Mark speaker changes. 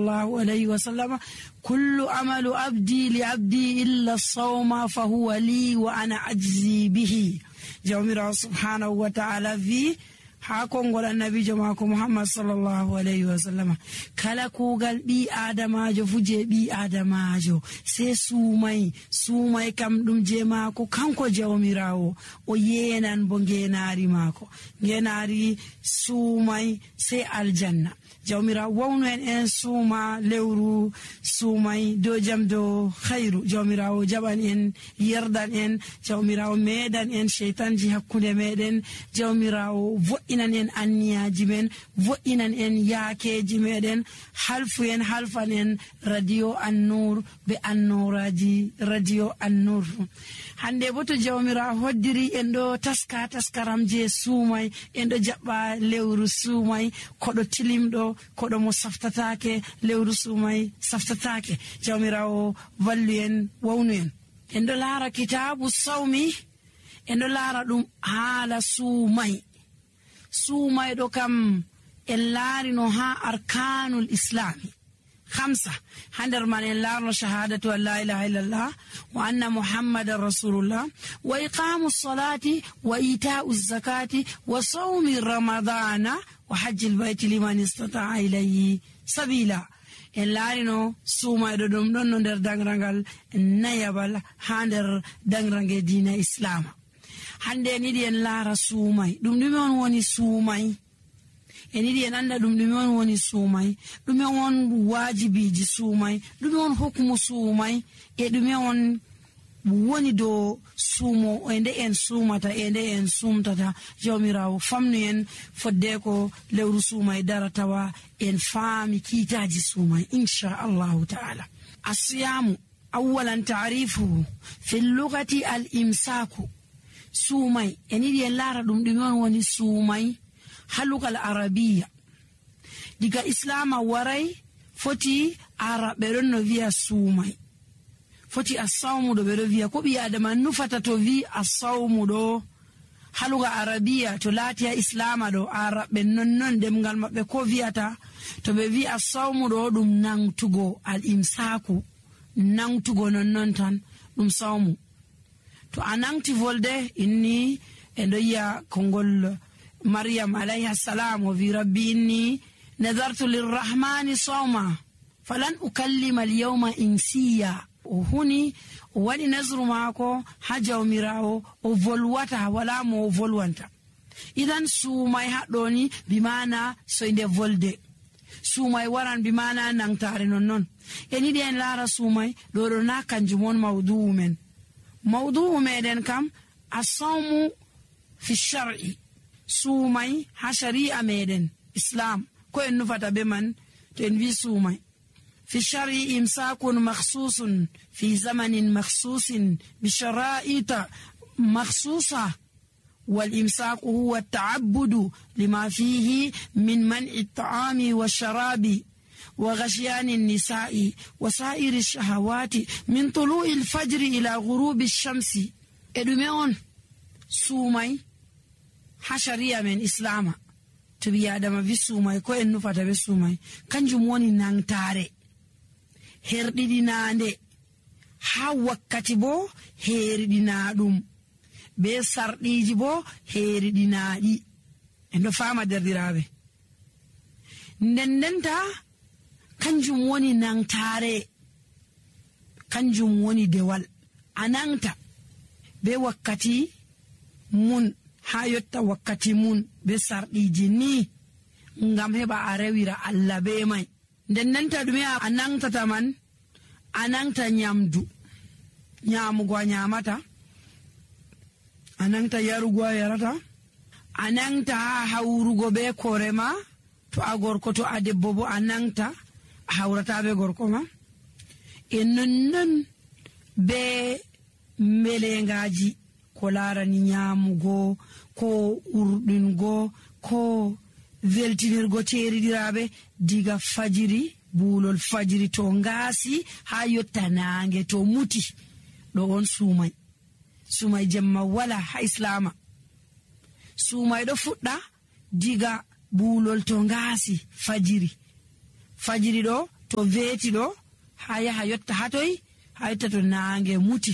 Speaker 1: الله عليه وسلم كل عمل عبدي لعبدي إلا الصوم فهو لي وأنا أجزي به. جميرا سبحانه وتعالى في hakon gol annabijo mako Muhammad sallallahu alaihi wasallam kala kugal bi adamajo fuje bi adamajo se sumai kam dum je mako kanko jawmirawo o yenan bo ngenari mako ngenari sumai se aljanna. jawmira wawno en suma lewru sumai do jam do khairu jawmirawo jaban en yerdan en jawmirawo medan en shaytanji hakkunde meden jawmirawo vo'inan en anniyaji men vo'inan en yaakeji meden halfan en radio an-nur be annuraji radio an-nur. hande bo to jawmira hoddiri en do taskaram je sumai en do jabba lewru sumai kodo tilimdo kodo mo saftatake lewru sumai saftatake. jawmirawo vallu en wawnu en do lara kitabu sawmi en do lara dum hala sumai do kam en laari no ha arkanul islami 5 handar man en laarno shahadatu an la ilaha illallah wa anna muhammadar rasulullah wa iqamus salati wa ita'uz zakati wa sawmi ramadana wa hajjil bayti liman istata'a ilayhi sabila. en laarino sumaydo dum don no der dangrangal nayabal hander dangrange diina islama. hande ni di en laara sumay dum dume on woni sumay enidi en anda dum dume on woni sumay dume on wajibiji sumay dume on hukumu sumay e dume on woni do sumo ende en sumata ende en sumtata. jawmirawo famnu en fodde ko lewru sumay daratawa en faami kitaji sumay insha Allah ta'ala. asiyamu awalan ta'rifuhu fi lughati al-imsaku. sumay enidi en lara dum dume on woni sumay halugal arabiya diga islama waray foti arabe don no via sumay foti as-sawmu do be do via ko bi adama nufata to vi as-sawmu do haluga arabiya to latiya islama do arabe non demgal mabbe ko viata to be vi as-sawmu do dum nangtugo al-imsaku nangtugo non tan dum sawmu to anangti volde inni endo ya kongol maryam alayha salam wa fi rabbi inni nadartu lirrahmani sawma falan ukallima al-yawma insiya. huni wadi nazru mako haja umirawo o volwata wala mo volwanta. idan sumay hadoni bimana so inde volde sumay waran bimana nangtare non eni den lara sumay do na kanjumon mawdu'u meden kam as-sawmu fi shar'i sumay ha shari'a meden islam ko en nufata be man to en vi sumay في الشرع إمساك مخصوص في زمن مخصوص بشرائط مخصوصة. والإمساك هو التعبد لما فيه من منع الطعام والشراب وغشيان النساء وسائر الشهوات من طلوع الفجر إلى غروب الشمس. إدميون سومي حشرية من إسلام تبي آدم في سومي كو إنو فتا في سومي كنجموني نانتاري herdidinande ha wakkati bo herdinadum be sardiji bo herdinadi endo fama derdirabe ndendenta kanjum woni nangtare kanjum woni dewal anangta be wakkati mun ha yotta wakkati mun be sardiji ni ngam heba arewira Allah be mai. ndennanta dume anangta taman anangta nyamdu nyamugo nyamata anangta yarugo yarata anangta hawrugo be korema to agorko to adebbo bo anangta hawrata be gorko ma ennon be melengaji ko larani nyamugo ko urdingo ko veltinirgo teridirabe diga fajiri bulol fajiri to ngasi ha yotta nange to muti do on sumay jemma wala ha islama sumay do fudda diga bulol to ngasi fajiri do to weeti ɗo ha yaha yotta hatoy ha yotta to naange muti